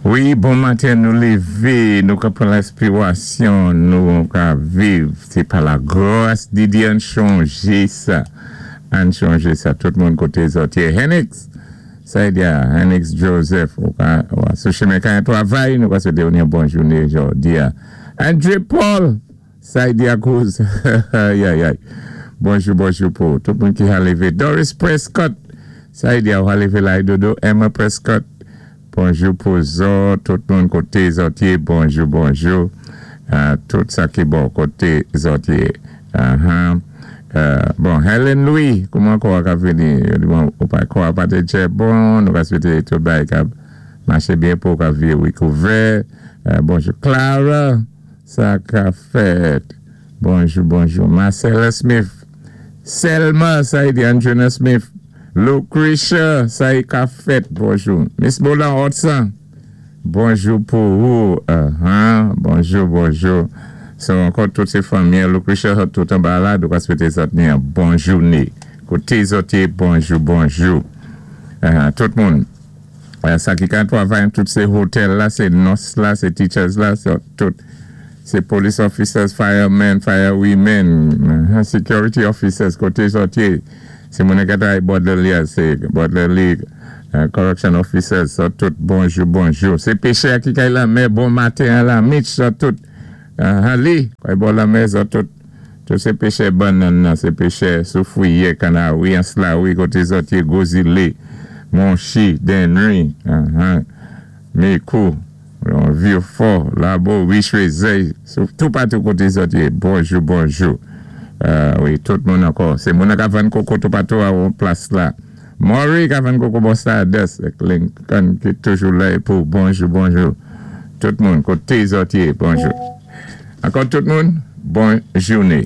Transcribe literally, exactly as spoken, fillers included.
Wi, bon maten, nou lévé, nou ka pran lèspirasyon, nou ka viv. Sé pa lagras di Dye. Ann chonjé sa. Ann chonjé sa. Tout moun koté zòt yé. Henix, sa y di, Henix Joseph, ou ka, ou sou chimen ka twavay, nou ka swété ou yon bon jouné jòdi a. André Paul, sa y di a kouz. Ay, ay, ay. Bonjou, bonjou pou tout moun ki a lévé. Doris Prescott, sa y di a, ou a lévé la dodo. Emma Prescott, bonjou pou zòt, tout moun koté zòt yé, bonjou, bonjou. Euh, tout sa ki bon koté zòt yé. Uh-huh. Euh, bon, Helen Louis, kouman kò a ka vini? Bon, ou pa kò a pa té bon, nou ka swété tout bagay ka maché byen pou ka vi wikouvè. Euh, bonjou Clara, sa ka fèt. Bonjou, bonjou. Marcella Smith. Selma, sa y di Andrena Smith. Lucretia, sa y ka fèt. Bonjou. Miss Bolan Hudson. Bonjou pou ou. Uh-huh. Bonjou, bonjou. So, ankò tout sé fanmi, Lucretia, tout anba la, nou ka swété zòt ni yon bon jouné. Koté zòt yé, bonjou, bonjou. Uh, tout moun. Uh, sa ki ka twavay, tout sé hotel la, sé nurse la, sé teachers la, so, tout. Sé police officers, firemen, firewomen, uh, security officers, koté zòt yé. Sé moun ka twavay border league, sé border league, uh, correction officers, so tout, bonjou, bonjou. Sé péchè ki kay lanmè, bon maten la, Mitch, so tout. Uh, Ali, kay bò lanmè, so tout. Tout sé péchè bannann nan, sé péchè Soufrière, Kanawi, Anse-la-Wi, koté zòt yé, Gozile, Monchi, Dennery, uh-huh, Micoud, Vieux-Fort, Labo, Richezey, tout patou koté zòt yé, bonjou, bonjou. Euh, wi, tout moun ankò. Sé moun ka vann koko tout patou a yon plas la. Maury ka vann koko bò Stardust, Lincoln ki toujou la pou bonjou, bonjou. Tout moun, koté zòt yé, bonjou. Ankò tout moun, bon jouné.